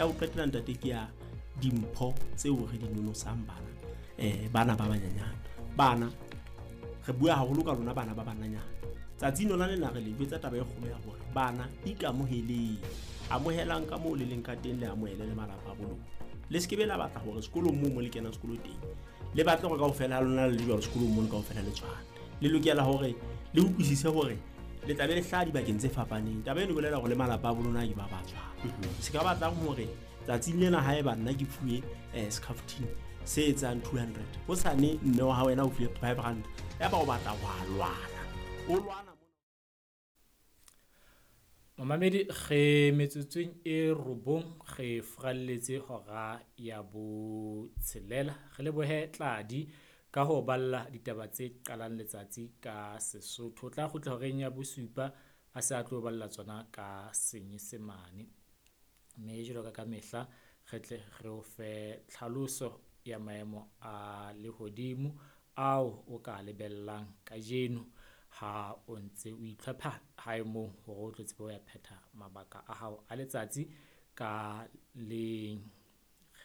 Ya ho qetela ntate ke ya dimpho tseo re di nonosang bana, bana ba banyenyane. Bana re bua haholo ka lona bana ba bananyana. Tsatsing lona lena re le jwetsa taba e kgolo ya hore bana ikamoheleng, amohelang ka moo le leng ka teng, le amohele le malapa a bo lona. Le se ke be la batla hore sekolong moo mo le kenang sekolo teng le batle hore kaofela ha lona le le jwalo sekolong mono kaofela le tshwane. Le lokela hore le utlwisise hore le tla be le hlaha dibakeng tse fapaneng. Taba eno e bolela hore le malapa a bo lona ke ba ba tshwana. Se ka batlang hore tsatsing lena haeba nna ke fuwe scaftine se etsang 200, hosane mme wa hao wena o fuwe 5 rand, yaba o batla wa lwana, o lwana. Momamedi, re metsotsong e 9 re furalletse hora ya 6. Re lebohe Tladi ka ho balla ditaba tse qalang letsatsi ka Sesotho. O tla kgutla horeng ya 7 a se a tlo balla tsona ka Senyesemane. Mme jwalo ka mehla re tle re o fe tlhaloso ya maemo a lehodimo ao o ka lebellang kajeno ha o ntse o itlhopha hae moo hore o tlo tsebe ho ya phetha mabaka a hao a letsatsi ka leng.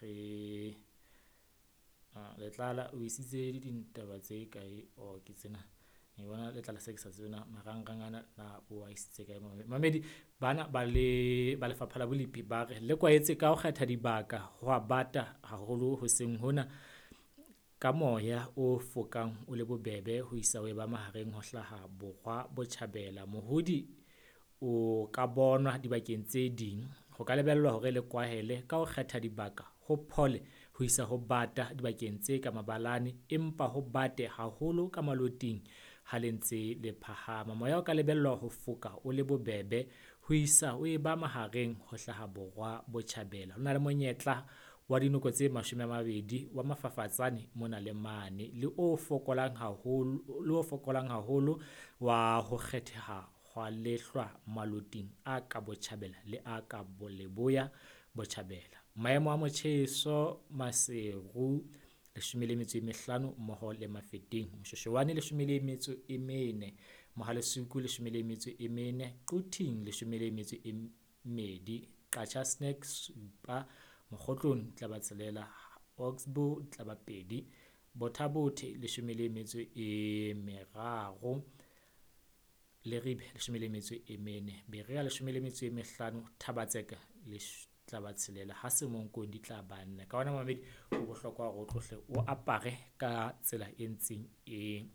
Re Letlala o isitse ditaba tse kae? O ke tsena ke bona Letlala se ke sa tsebe na marangrang ana na o a isitse kae. Mamedi, bana ba le ba lefapha la bolepi ba re le kwaetse ka ho kgetha dibaka ho a bata haholo hoseng hona ka moya o fokang o le bobebe ho isa ho eba mahareng ho hlaha borwa botjhabela. Mohodi o ka bonwa dibakeng tse ding. Ho ka lebellwa hore le kwahele ka ho kgetha dibaka ho phole ho isa ho bata dibakeng tse ka mabalane, empa ho bate haholo ka maloting ha le ntse le phahama. Moya o ka lebellwa ho foka o le bobebe ho isa ho eba mahareng ho hlaha borwa botjhabela. Ho na le monyetla wa dinoko tse 20 wa mafafatsane mona le mane, le o fokolang haholo wa ho kgetheha hwa lehlwa maloting a ka botjhabela le a ka leboya botjhabela. Maemo a motjheso Maseru 15 mmoho le Mafeteng, Moshweshwane 14, Mohalesuku 14, Quthing 12, Qacha Snack 7, Mokgotlong tla ba 6, Oxbow tla ba 2, Bothabothe 13, Leribe 14, Berea 15, Thabatseka tla ba 6, ha Semonkong di tla ba 4. Ka hona mamedi, ho bohlokwa hore o tlohle o apare ka tsela e ntseng e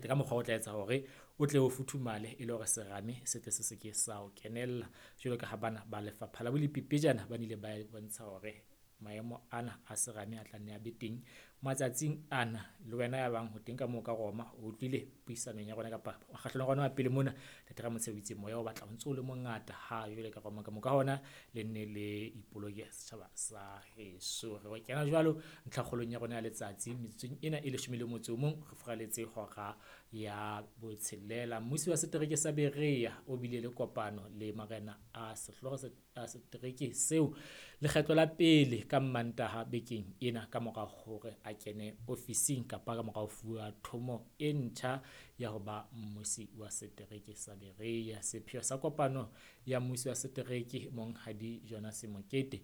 ka mokgwa o tla etsa hore o tle o futhumale e le hore serame se tle se se ke sa o kenella. Jwalo ka ha bana ba lefapha la bolepi pejana ba nile ba bontsha hore maemo ana a serame a tla nne a be teng matsatsing ana. Le wena ya bang ho teng ka moo ka Roma, o utlwile puisanong ya rona kapa kgahlano ya rona wa pele mona, Ntate Ramotshe o itse moya o batla o ntso o le mongata ha jwale ka Roma ka moo. Ka hona le nne le ipoloke setjhaba sa heso. Re kena jwalo ntlhakgolong ya rona ya letsatsi metsotsong ena e 11 re furaletse hora ya 6. Mmusi wa setereke sa Berea o bile le kopano le marena a sehlooho a setereke seo lekgetlo la pele ka Mmantaha bekeng ena ka mora hore a kene ofising kapa ka mora ho fuwa thomo e ntjha ya ho ba mmusi wa setereke sa Berea. Sepheo sa kopano ya mmusi wa setereke Monghadi Jonas Mokete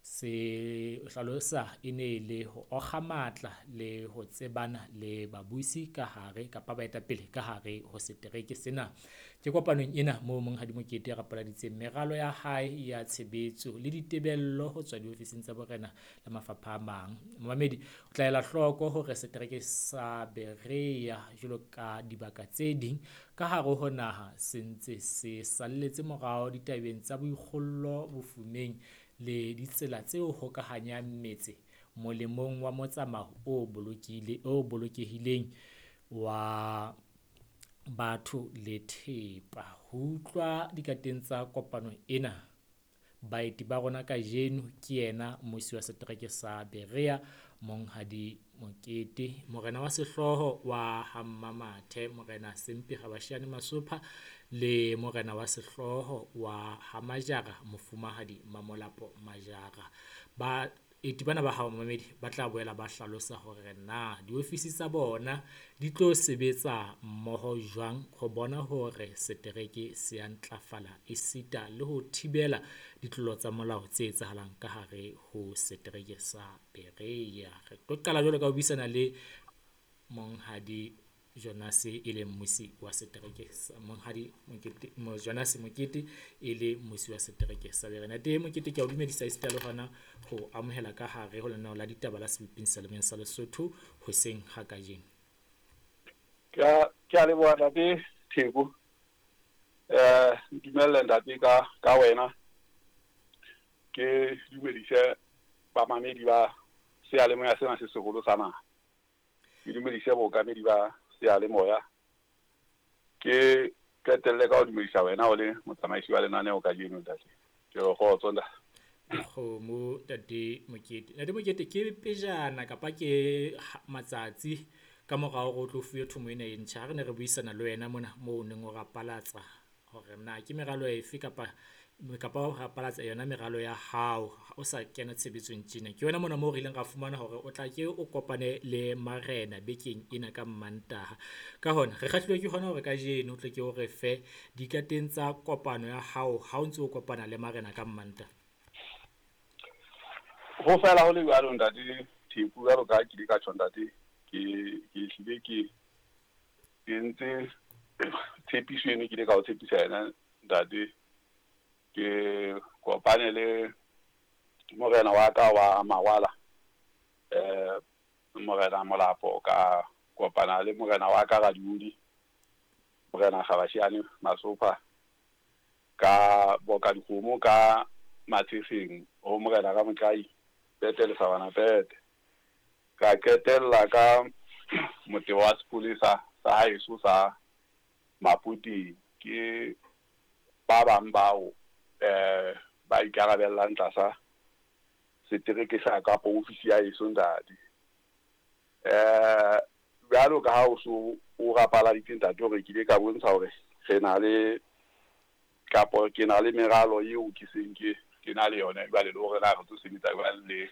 se hlalosa e ne le ho okga matla le ho tsebana le babusi ka hare kapa baetapele ka hare ho setereke sena. Ke kopanong ena moo Monghadi Mokete a rapaladitseng meralo ya hae ya tshebetso le ditebello ho tswa diofising tsa borena le mafapha a mang. Momamedi, o tla ela hloko hore setereke sa Berea jwalo ka dibaka tse ding ka hare ho naha se ntse se salletse morao ditabeng tsa boikgollo bofumeng le ditsela tse hokahanyang metse molemong wa motsamao o bolokehileng wa batho le thepa. Ho utlwa dikateng tsa kopano ena, baeti ba rona kajeno ke yena mmusi wa setereke sa Berea Monghadi Mokete, morena wa sehlooho wa ha Mmamathe Morena Sempi Rabashiane Masopha, le morena wa sehlooho wa ha Majara Mofumahadi Mamolapo Majara. Ba Baeti bana ba hao momamedi ba tla boela ba hlalosa hore na diofisi tsa bona di tlo sebetsa mmoho jwang ho bona hore setereke se a ntlafala esita le ho thibela ditlolo tsa molao tse etsahalang ka hare ho setereke sa Berea. Re tlo qala jwalo ka ho buisana le Monghadi Jonas e leng mmusi wa setereke sa Monghadi Mokete, Jonas Mokete e le mmusi wa setereke sa Berea. Ntate Mokete, ke a o dumedisa esita le hona ho amohela ka hare ho lenaneo la ditaba la Seboping Seyalemoyeng sa Lesotho hoseng ha kajeno. Ke a leboha ntate Theko. Ntumelle ntate ka wena ke dumedise bamamedi ba seyalemoya sena se seholo sa naha. Ke dumedise bookamedi ba seyalemoya. Ke qetelle ka ho dumedisa wena o le motsamaisi wa lenaneo kajeno ntate. Ke re kgotso ntate. Dikgomo ntate Mokete. Ntate Mokete, ke pejana kapa ke matsatsi ka morao hore o tlo fuwe thomo ena e ntjha, ha re ne re buisana le wena mona moo o neng o rapalatsa hore na ke meralo efe kapa o rapalatsa yona meralo ya hao o sa kena tshebetsong tjena. Ke yona mona moo re ileng ra fumana hore o tla ke o kopane le marena bekeng ena ka Mantaha. Ka hona re kgahlilwe ke hona hore kajeno o tle ke o re fe dikateng tsa kopano ya hao ha o ntse o kopana le marena ka Mantaha. Ho fela ho le jwalo ntate Theko, jwalo ka ha ke ile ka tjho ntate, ke hlile ke entse tshepiso eno ke ile ka o tshepisa yena ntate. Ke kopane le morena wa ka wa Mawala, morena Molapo, ka kopana le morena wa ka Radiodi, morena Kgabashiane Masopha, ka boka dikgomo ka Matshefeng ho morena Ramotlae Pete Lesabana Pete. Ka qetella ka motebo wa sepolesa sa haeso sa Mapoteng. Ke ba bang bao ba ikarabellang tlasa setereke sa kapa ofisi ya heso ntate. Jwalo ka ha o so o rapaladitse ntate hore ke ile ka bontsha hore re na le kapo ke na le meralo eo ke seng ke na le yona jwale, le hore na re tlo sebetsa jwang le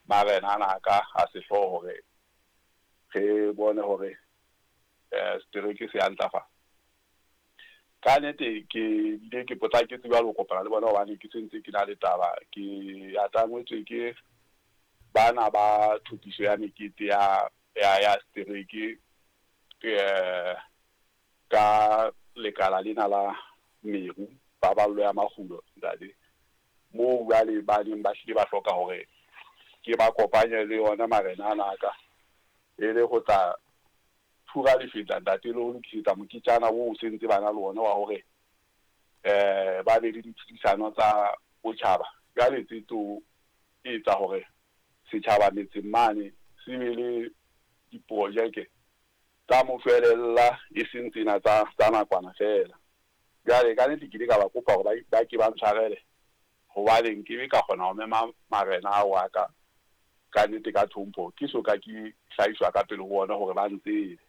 marena ana ka a sehlooho hore re bone hore setereke se a ntlafala. Ka nnete ke bile ke potlaketse jwalo ho kopana le bona hobane ke sentse ke na le taba, ke atangwetswe ke bana ba tlhophiso ya mekete ya setereke ka lekala lena la meru paballo ya makgulo ntate, moo jwale ba neng ba hlile ba hloka hore ke ba kopanye le yona marena ana ka e le ho tla phura lefetla ntate, le ho lokisetsa moketjana oo sentse ba na le ona wa hore ba be le ditlhodisano tsa botjhaba. Jwale tse tlo etsa hore setjhaba metseng mane se be le diprojeke tsa moshwelella, e seng tsena tsa nakwana feela. Jwale ka nnete ke ile ka ba kopa hore ba ke ba ntshwarele hobane nkebe ka kgona ho mema marena ao a ka ka nnete ka tlhompho, ke soka ke hlahiswa ka pele ho bona hore ba ntsebe.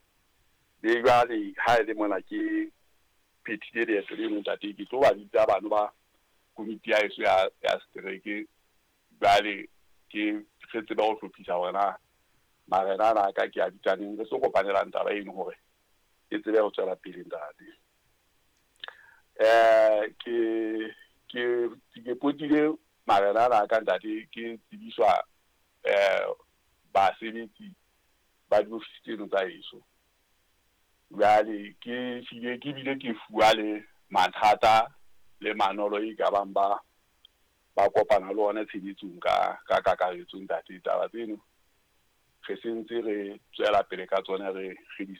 Le jwale ha e le mona ke phethile leeto leno ntate, ke tlo ba bitsa bano ba komiti ya heso ya setereke, jwale ke re tsebe ho hlophisa hore na marena ana a ka ke a bitsaneng, re tlo kopanelang taba eno hore e tsebe ho tswela pele ntate. Ke potile marena ana a ka ntate, ke tsebiswa basebetsi ba diofisi tseno tsa heso. Jwale ke hlile ke bile ke fuwa le mathata le manolo e ka bang ba kopana le ona tshebetsong ka kakaretso ntate. Taba tseno re sentse re tswela pele ka tsona, re di